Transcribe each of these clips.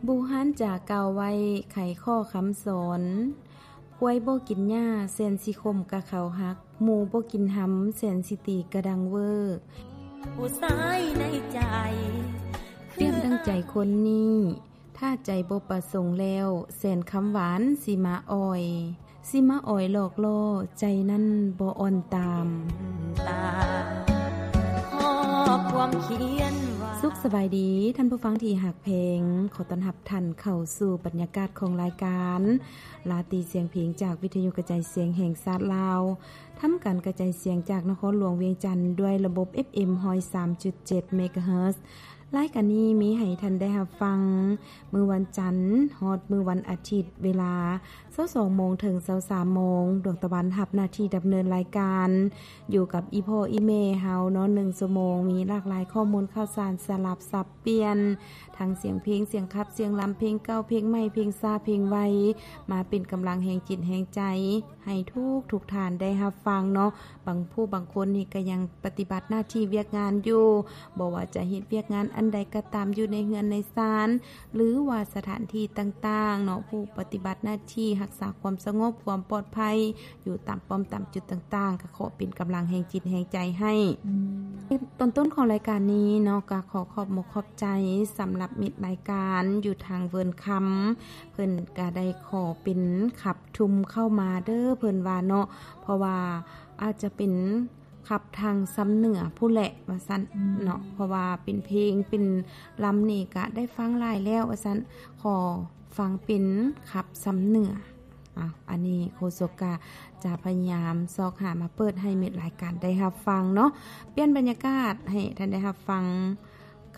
ບູຮານຈາກ່າວໄວ້ ໄຂຂໍ້ຄຳສອນ ຄວາຍບໍ່ກິນຫຍ້າ ແສນຊິຂົມກະເຂົາຫັກ ໝູບໍ່ກິນຫຳ ແສນຊິຕີກະດັງເວີ. ຜູ້ຊາຍໃນໃຈ ປຽບດັ່ງໃຈຄົນນີ້ ຖ້າໃຈບໍ່ປະສົງແລ້ວ ແສນຄຳຫວານຊິມາອ່ອຍ ຊິມາອ່ອຍຫຼອກລໍ້ ໃຈນັ້ນບໍ່ອ່ອນຕາມ. ສຸກສະບາຍດີ ທ່ານຜູ້ຟັງທີ່ຮັກແພງ, ຂໍຕ້ອນຮັບທ່ານເຂົ້າສູ່ບັນຍາກາດຂອງລາຍການລາຕີສຽງເພງ ຈາກວິທະຍຸກະຈາຍສຽງແຫ່ງຊາດລາວ, ທຳການກະຈາຍສຽງຈາກນະຄອນຫຼວງວຽງຈັນ ດ້ວຍລະບົບ ເອັຟເອັມ ຮ້ອຍສາມຈຸດເຈັດ ເມກາເຮີດ. ລາຍການນີ້ມີໃຫ້ທ່ານໄດ້ຮັບຟັງ ມື້ວັນຈັນຮອດມື້ວັນອາທິດ ເວລາຊາວສອງໂມງເຖິງຊາວສາມໂມງ. ດວງຕາວັນຮັບໜ້າທີ່ດຳເນີນລາຍການ ຢູ່ກັບອີ່ພໍ່ອີ່ແມ່ເຮົາເນາະ ໜຶ່ງຊົ່ວໂມງ ມີຫຼາກຫຼາຍຂໍ້ມູນຂ່າວສານສະຫຼັບສັບປ່ຽນ ທັງສຽງເພງ, ສຽງຂັບ, ສຽງລຳ, ເພງເກົ່າ, ເພງໃໝ່, ເພງຊ້າ, ເພງໄວ ມາເປັນກຳລັງແຮງຈິດແຮງໃຈ ໃຫ້ທຸກໆທ່ານໄດ້ຮັບຟັງເນາະ. ບາງຜູ້ບາງຄົນນີ້ກໍຍັງປະຕິບັດໜ້າທີ່ວຽກງານຢູ່, ບໍ່ວ່າຈະເຮັດວຽກງານອັນໃດກໍຕາມ ຢູ່ໃນເຮືອນໃນຊານ ຫຼືວ່າສະຖານທີ່ຕ່າງໆເນາະ, ຜູ້ປະຕິບັດໜ້າທີ່ຮັກສາຄວາມສະຫງົບ ຄວາມປອດໄພ ຢູ່ຕາມປ້ອມຕາມຈຸດຕ່າງໆ ກໍຂໍເປັນກຳລັງແຮງຈິດແຮງໃຈໃຫ້. ຕອນຕົ້ນຂອງລາຍການນີ້ເນາະ ກໍຂໍຂອບອົກຂອບໃຈສຳລັບມິດລາຍການຢູ່ທາງເວີນຄຳ ເພິ່ນກໍໄດ້ຂໍເປັນຂັບທຸ່ມເຂົ້າມາເດີ ເພິ່ນວ່າເນາະ, ເພາະວ່າອາດຈະເປັນຂັບທາງຊຳເໜືອພຸ້ນແຫຼະວ່າຊັ້ນເນາະ, ເພາະວ່າເປັນເພງເປັນລຳນີ້ກະໄດ້ຟັງຫຼາຍແລ້ວວ່າຊັ້ນ, ຂໍຟັງເປັນຂັບຊຳເໜືອ. ອາ ອັນນີ້ໂຄສົກກະຈະພະຍາຍາມຊອກຫາມາເປີດໃຫ້ມິດລາຍການໄດ້ຮັບຟັງເນາະ, ປ່ຽນບັນຍາກາດໃຫ້ທ່ານໄດ້ຮັບຟັງ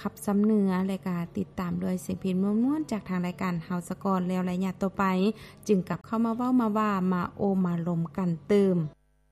ຂັບຊຳເໜືອ ແລະກະຕິດຕາມດ້ວຍສຽງເພງມ່ວນໆ ຈາກທາງລາຍການເຮົາສາກ່ອນ, ແລ້ວໄລຍະຕໍ່ໄປຈຶ່ງກັບເຂົ້າມາເວົ້າມາວ່າ ມາໂອ້ມາລົມກັນຕື່ມ.